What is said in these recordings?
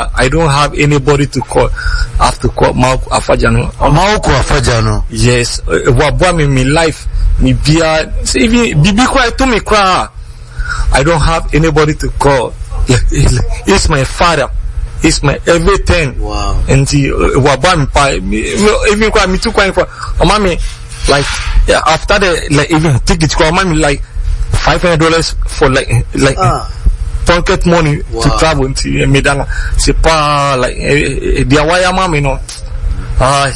biara, I don't have anybody to call. I have to call Mawuko Afadja no. Mawuko Afadja no. Yes, waboa me me life, me biara, sɛ even biribi koraa ɛto me koraa, I don't have anybody to call. He's my father. He's my everything. Wow. Nti waboa me pa. Even koraa me tu kwan koraa, ɔma me like, yeah, after the like even ticket koraa, ɔma me like $500 for like pocket money to travel. Nti me da no se paa like deɛ wayɛ ama me no, I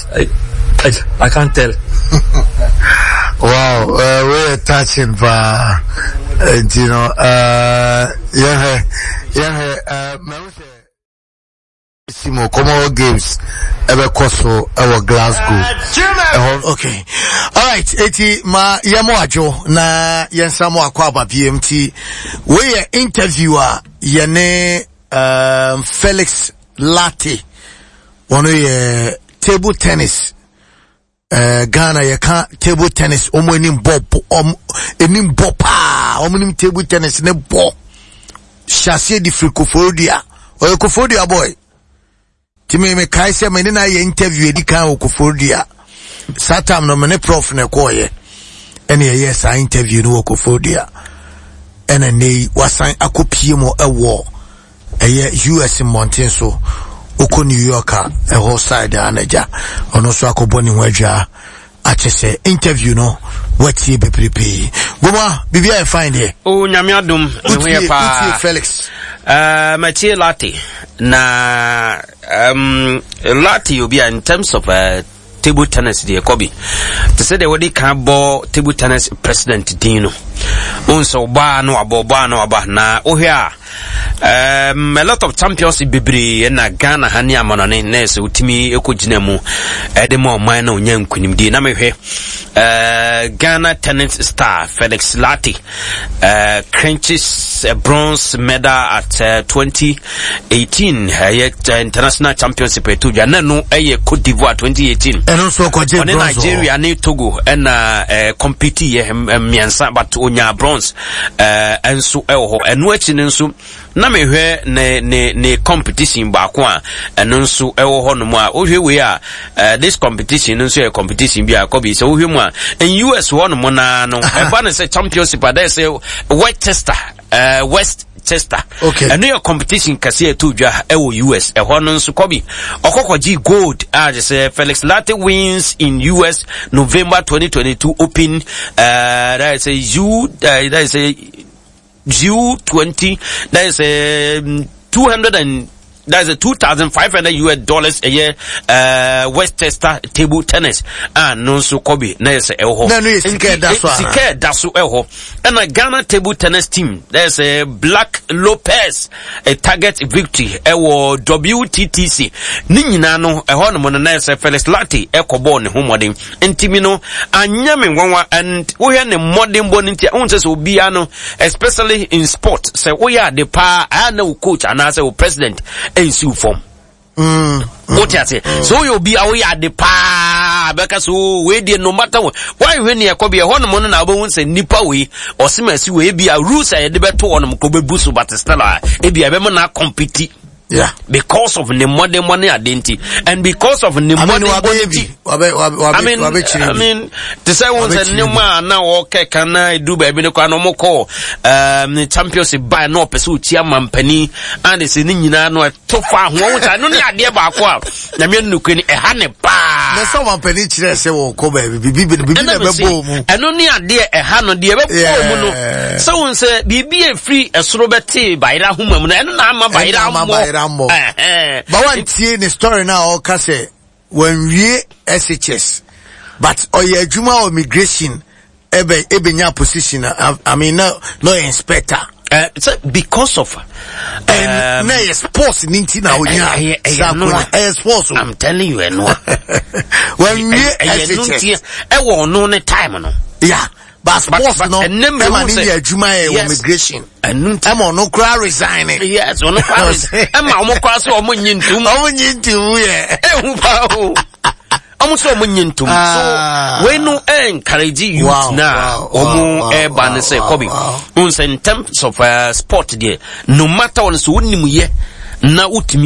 can't tell. Wow, we are touching paa. Nti no, yɛhwɛ mɛhu sɛ Simo Commonwealth Games ɛbɛkɔ so ɛwɔ Glasgow. Ɛhɔ. Okay. All right. Eti ma yɛmo adwo na yɛnsa mo akɔ aba biem ti. Wei yɛ interview a yɛne Felix Lartey. Wɔno yɛ table tennis. Ghana yɛka table tennis wɔn anim bɔ, wɔn anim bɔ paa, wɔn anim table tennis ne bɔ. Hyɛ de firi Koforidua. Ɔyɛ Koforidua boy. Ti me me kae sɛ me ne na yɛ interview edi kan wɔ Koforidua. Saa time no me ne prof na ɛkɔɔyɛ. Ɛna yɛyɛ saa interview no wɔ Koforidua. Ɛna nne yi wasan akɔpie mu ɛwɔ ɛyɛ US mmɔnten so. Okɔ New York a ɛhɔ side a n'agya ɔno nso akɔbɔ ne ho adwa akyɛ sɛ interview no watie bebrebe. Goma biribi ayɛ fine deɛ. O Nyame adom me ho yɛ paa. Wotie Felix. Matie Lartey na Lartey obi a in terms of table tennis deɛ kɔbi te sɛ deɛ wɔde kan bɔ table tennis president din no wohu sɛ ɔbaa no wabɔ ɔbaa no waba na wohwɛ a a lot of champions bebree na Ghana ha ne amanɔne na ɛsɛ wotumi kɔgyina mu ɛde ma ɔman na ɔnya nkonimdie na mehwɛ Ghana tennis star Felix Lartey clinches a bronze medal at 2018 international championship ɛto dwa na no ɛyɛ Cote d'Ivoire 2018 ɛno nso ɔkɔgye ɔne bronze Nigeria ne Togo ɛna compete yɛ mmiɛnsa but onya bronze ɛnso ɛwɔ hɔ. Ɛno akyi no nso na mehwɛ ne competition baako a ɛno nso ɛwɔ hɔ nom a wohwɛ wei a this competition no nso yɛ competition bi a kɔbi sɛ wohwɛ mu a in US hɔ nom naa no ɛba ne sɛ championship a dɛ sɛ Westchester. Okay. Ɛno yɛ competition kɛse ɛto dwa ɛwɔ US. Ɛhɔ no nso kɔbi ɔkɔkɔgye gold a kyerɛ sɛ Felix Lartey wins in US November 2022 Open, that is a U, that is a U20, that is a 200 and that is a $2,500 US dollars a year, Westchester table tennis. No so kobi na yes ɛwɔ hɔ. Na no yɛ sika ɛda so ana? Sika ɛda so ɛwɔ hɔ. Ɛna Ghana table tennis team, that is a Black Lopez, a target victory ɛwɔ WTTC. Ne nyinaa no ɛhɔ nom no na yes Felix Lartey ɛkɔ bɔɔl ne ho mmɔden. Nti mi no anya me nwanwa and wohwɛ ne mmɔden bɔ ne nti a wohu sɛ sɛ obiara no especially in sport sɛ woyɛ ade paa a na wo coach anaasɛ wo president ɛnsi wo fam. Wote ase sɛ woyɛ obi a woyɛ ade paa bɛka sɛ o wei deɛ no matter what woanhwɛ ne ɛkɔ bi ɛhɔ nom no na wobɛhu sɛ nnipa wei ɔsem asi wei bi a rules a yɛde bɛto hɔ nom kɔ bɛbu so but still a ebi a ɛbɛma no akɔmpiti. Because of ne mmɔdenbɔ ne ade nti and because of ne I mean, mmɔdenbɔ wabɛyɛ nti bi. I mean, Wabɛkyerɛ I bi. mean, te sɛ wo sɛ Wabɛkyerɛ bi. nneɛma a na wɔkɛ kan na edu baabi no koraa na wɔkɔ championship baa na ɔpɛ sɛ ɔtua mampanin a ne sɛ ne nyinaa no ɛto fa ho ɔwo sɛ ɛno ne adeɛ baako a Nyame no nokura ni ɛha ne paa. Na sɛ ɔmampanin kyerɛ sɛ wɔkɔ baabi bibi Ɛna na me se, ɛbɛbɔ mu. ɛno ne adeɛ ɛha no deɛ ɛbɛbɔ mu no. Sɛ wo sɛ biribi a ɛfiri ɛsoro bɛtee bayera ahoma mu no ɛno na ama bayera Ɛna ama mmɔ. bayera mmɔ. Ɛhɛn. Ba wantie ne story na ɔka sɛ wanwie SHS but ɔyɛ adwuma wɔ migration ɛbɛnya position I mean na ɔyɛ inspector. Sɛ because of, na ɛyɛ sports ni nti na onya ɛyɛ saa noa. kona. Ɛyɛ sports o. I'm telling you ɛnoa. Wanwie Ɛyɛ no SHS. nti ɛwɔ ɔno ne time no. Yeah, but sports But no ɛnɛ mmerɛ ɛma hu ne sɛ yɛ adwuma yɛ wɔ Yes. migration. Ɛno nti. Ɛma ɔno koraa resign. Yes, ɔno koraa resign. Ɛma ɔmo koraa sɛ ɔmo nyi ntom. Ɔmo nyi ntom yɛ. Ehu paa o. Ɔmo sɛ ɔmo nyi ntom. So wei no encourage youth na ɔmo ɛba ne sɛ kɔbi. N sɛ in terms of sport deɛ no matter what so wonim yɛ na wotumi